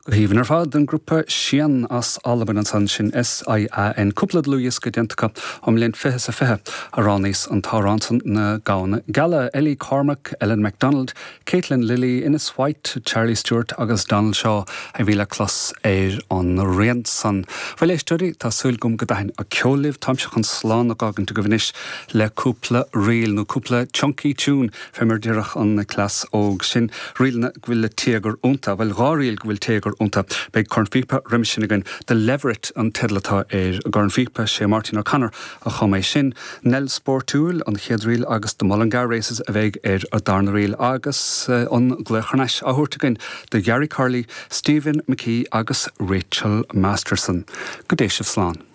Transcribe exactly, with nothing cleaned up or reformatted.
Go haoibhinn ar fad an grúpa Sian as Albain ansan sin SIAN cúpla dlúthdhiosca déanta acu ón mbliain fiche is a fiche a roghnaíos an t-amhrán san Na Gamhna Geala, Ellie Cormack, Ellen MacDonald, Caitlin Lilly, Innes White, Charlie Stewart agus Donald Shaw a bhí le clos ar an rian san. Bhuel éisteoirí tá súil agam go dtaithin an ceol libh táimse chun slán a fhágaint agaibh anois le cúpla ríl nó cúpla chunky tune fé mar déarfadh an cleas óg sin ríleanna go bhfuil le téagar iontu, bhuel dhá ríl go bhfuil téagar iontu. Beidh cornphíopa roimhe sin againn The Leveret an teideal atá ar an gcornphíopa sé Martin O'Connor a chum é sin. Nell Spórtúil an chéad ríl agus The Mullingar Races a bheidh ar an darna ríl agus eh, an glaoch thar n-ais á thabhairt againn do Gary Curley, Stephen McKee agus Rachel Masterson. Go dté sibh slán.